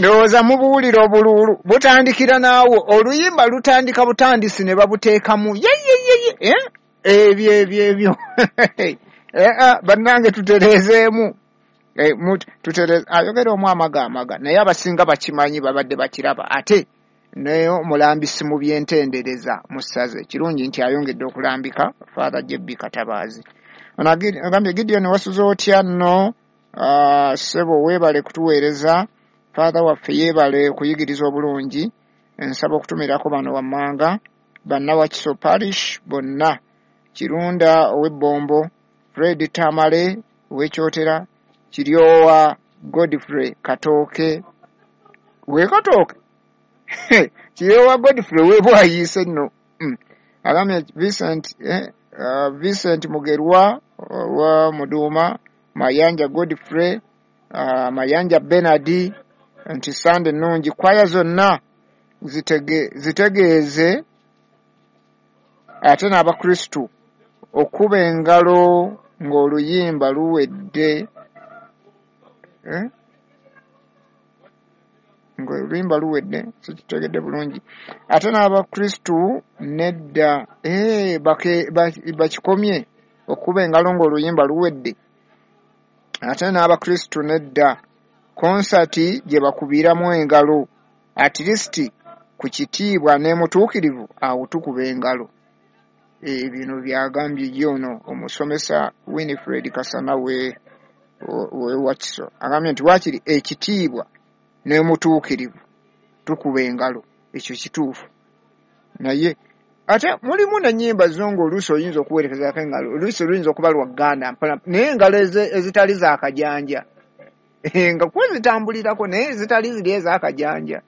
Ndowooza mubuwulira obuluulu butandikira naawo, oluyimba lutandika butandisi ne babuteekamu yeyeyeye ebyo ebyo ebyo. Bannange tutereezeemu, ayogera omu amaga amaga, naye abasinga bakimanyi, babadde bakiraba. Ate naye omulambisi mu byentendereza mu ssaza, kirungi nti ayongedde okulambika Father JB Katabaazi. Agambye Gideon wasuze otya nno, ssebo weebale kutuweereza, Father waffe yeebale kuyigiriza obulungi. Nsaba okutumirako bano wammanga bannawakiso parish bonna, Kirunda ow'Ebbombo, Fred Tamale ow'Ekyotera, Kiryowa Godfrey Katooke we Katooke Kiryowa Godfrey w'Ebwayiise nno. Agambye Vincent Mugerwa wa Muduuma, Mayanja Godfrey, Mayanja Bernard, nti Sande nnungi, kwaya zonna zitegeeze ate n'Abakristu okuba engalo ng'oluyimba luwedde, ng'oluyimba luwedde, sikitegedde bulungi. Ate n'Abakristu nedda, bakikomye okuba engalo ng'oluyimba luwedde. Ate n'Abakristu nedda, konsati gye bakubiramu engalo, at least ku kitiibwa ne mutuukirivu awo tukuba engalo. Bino byagambye ye ono omusomesa Winifred Kasana we Wakiso. Agambye nti waakiri ekitiibwa ne mutuukirivu tukuba engalo, ekyo kituufu. Naye ate mulimu n'ennyimba zo ng'oluusi oyinza okuwerekezaako engalo, oluusi luyinza okuba lwa Gganda mpola, naye engalo ezitali za kajanja, nga kuba zitambulirako, naye ezitali ziri ez'akajanja.